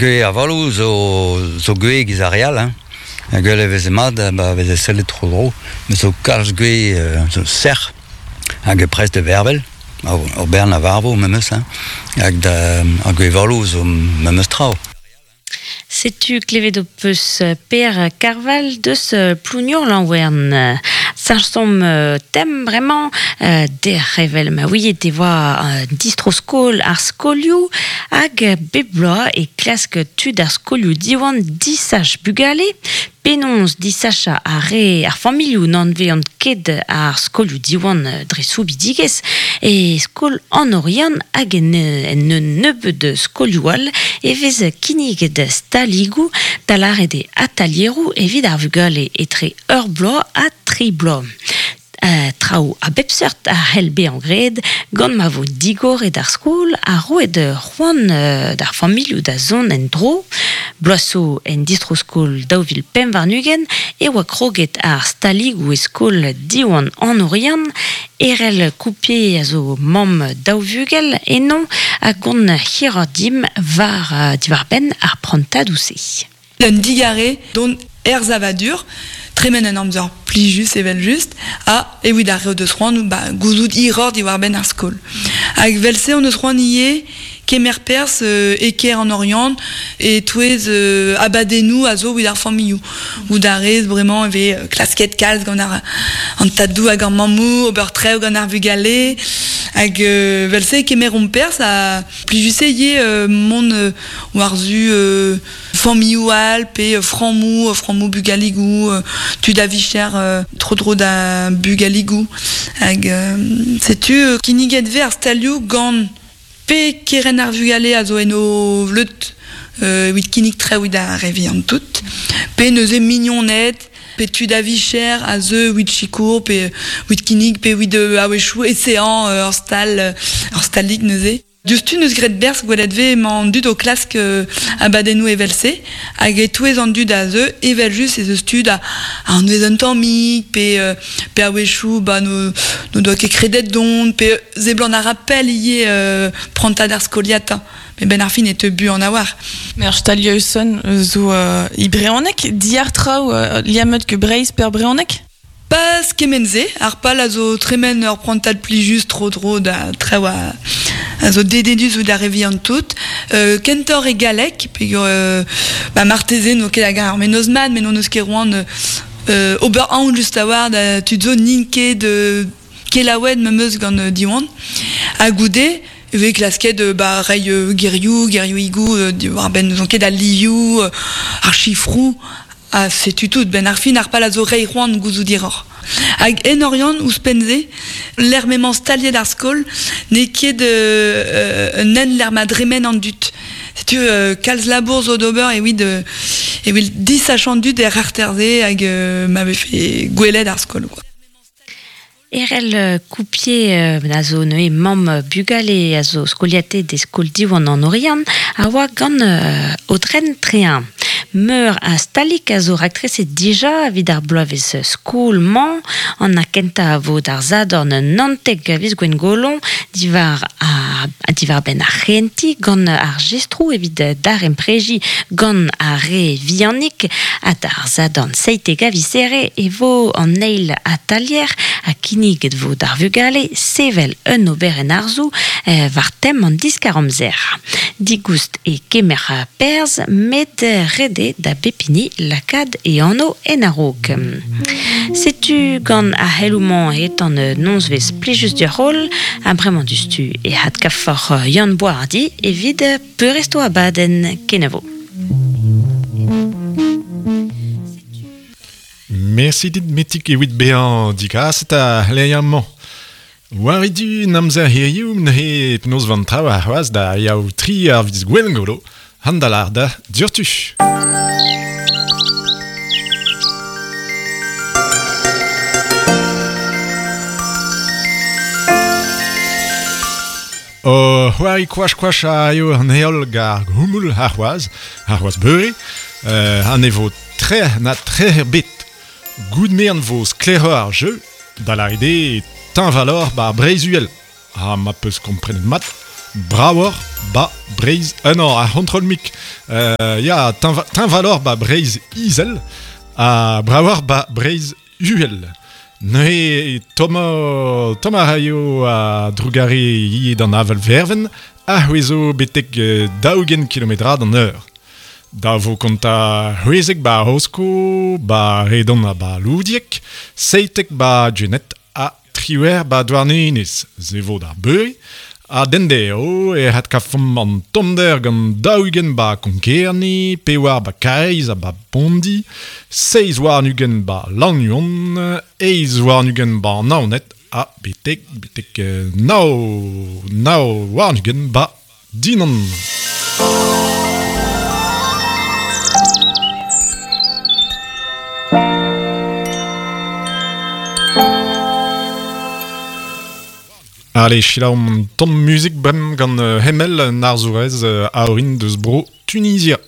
Gwez avaloù zo zo gwez giz ar re all hein. Gwell e veze mat ba veze sellet tro-dro. Met zo kalz gwez zo sec'h hag prest da vervel. Ur bern a varvo memes hein. Hag da ar gwez avaloù zo memes tra. Setu klevet ho peus Per Karval deus Plougnour-Lanwern. Sañsomp tem bremañ dec'h evel ma ouiet e oa distro-skol ar skolioù hag bep bloaz e klask tud ar skolioù Diwan disach bugale. Penaos disachañ ar re ar familhoù n'anveont ket ar skolioù Diwan dre soubidigezh e skol An Oriant hag en en un nebeud skolioù all e vez kinniget staligoù da lâret eo atalieroù evit ar vugale etre ur bloaz ha tri bloaz. Traoù a bep seurt a c'hell bezañ graet gant ma vo digoret ar skol ha roet c'hoant d'ar familhoù da zont en-dro. Bloaz zo en distro-skol 2025 e oa kroget ar staligoù e skol Diwan An Oriant. Erell Coupier a zo mamm daou vugel eno a gont hiroc'h dimp war diwar-benn ar prantadoù-se. Un digarez dont er savadur, tremen un amzer plijus evel-just, ha evit ar re o deus c'hoant ba, gouzout hiroc'h diwar-benn ar skol. Hag evel-se hon eus c'hoant ivez kemer perzh e kêr an Oriant e-touez abadennoù a zo evit ar familhoù. Goût a rez bremañ e vez klasket kalz gant ar, an tadoù hag ar mammoù, ober traoù gant ar vugale. Hag evel-se e kemeromp perzh ha plijus eo ivez mont war-zu familhoù all pe frammoù, frammoù bugaligoù, tud a vicher tro-dro da bugaligoù. Hag setu kinniget 'vez ar stalioù gant pe kerent ar vugale a zo en o vleud evit kinnig traoù evit ar re vihan tout, pe neuze mignoned, pe tud a vicher a zeu evit sikour pe evit kinnig pe evit a-wechoù eseañ ur stal, ur stalig neuze. Diouzhtu 'neus graet berzh gwelet 'vez emañ an dud o klask abadennoù evel-se hag e-touez an dud a zeu evel-just ez eus tud a anvez un tammig pe pe a-wechoù ba n'o doa ket kredet dont pe seblant a ra pell ivez prantad ar skoliata met 'benn ar fin e teu buan a-walc'h. Met ar stalioù-son zo e brezhoneg, diàr traoù liammet get Breizh pe ar brezhoneg? Pas kement-se, ar pal a zo tremen ur prantad plijus tro-dro da traoù a zo dedennus ouzh ar re vihan tout. Kentoc'h e galleg, peogwir ba marteze n'o ket hag ar mennozh mat, met n'hon eus ket c'hoant ober aon just a-walc'h da tud zo n'int ket kelaouet memes gant Diwan. Ha goude e vez klasket ba reiñ gerioù, gerioùigoù diwar-benn n'ouzon ket al livioù, ar sifroù. Ha setu tout, 'benn ar fin ar pal a zo reiñ c'hoant gouzout hiroc'h. Hag en Oriant, ouzhpenn-se, lec'h m'emañ staliet ar skol, n'eo ket un hent lec'h ma dremen an dud. Setu kalz labour zo d'ober evit evit disachañ an dud er c'harter-se hag ma vefe gwelet ar skol. Quoi. Erell Coupier a zo neuze mamm bugale a zo skoliatet e skol Diwan an Oriant a oa gant Aodren Trehin. Meur a stalig a zo raktreset dija evit ar bloavezh skol-mañ. An kentañ a vo d'ar Sadorn 19 a viz Gwengolo diwar diwar-benn ar c'hehentiñ gant ar jestroù evit daremprejiñ gant ar re vihanik ha d'ar Sadorn 17 a viz Here e vo an eil atalier ha kinniget vo d'ar vugale sevel un oberenn arzoù war tem an diskar-amzer. Digoust e kemer perzh met ret eo da bep hini lakaat e anv en a-raok. Setu gant ar c'heloù-mañ etan nozvezh plijus deoc'h holl ha bremañ diouzhtu e adkavfoc'h Yann Boishardy evit peurrest ho abadenn. Kenavo. Mersi dit Metig evit bezañ digaset ar c'hleier-mañ. War e du 'n amzer hiziv neuze penaos 'vo an traoù arc'hoazh da yaou tri ar viz Gwengolo, an da lâr da diouzhtu. O c'hoari koach-koach a eo an heol gant ar c'houmoul arc'hoazh, arc'hoazh beure, ha ne vo trec'h na trec'h ebet. Goût me'an vo sklaeroc'h ar jeu, da lâret eo teñvaloc'h 'ba Breizh-Uhel. Ha ma 'peus komprenet mat, Bravor ba Breiz... non, ar c'hontrol mik. Ya, teñvalor ba Breiz Izel ha bravor ba Breiz Uhel. Neuze Thomas a raio a drugare ivez d'an avel verven a c'hwezo betek 20 kilometrad an eur. Da vo kontañ 16 ba Rosko, ba Redon ha ba Loudieg, 17 ba Genet ha 18 ba Douarnenez. Se vo d'ar beure. Ha dendeo e adkavfomp an tommder gant 40 ba Konk-Kerne, 4 ba Karaez ha ba Pondi, 27 ba Lannuon, 28 ba Naoned ha betek betek 29 ba Dinan. Allez, selaomp un tamm muzik bremañ gant Hemel, un arzourez a orin deus bro Tunizia.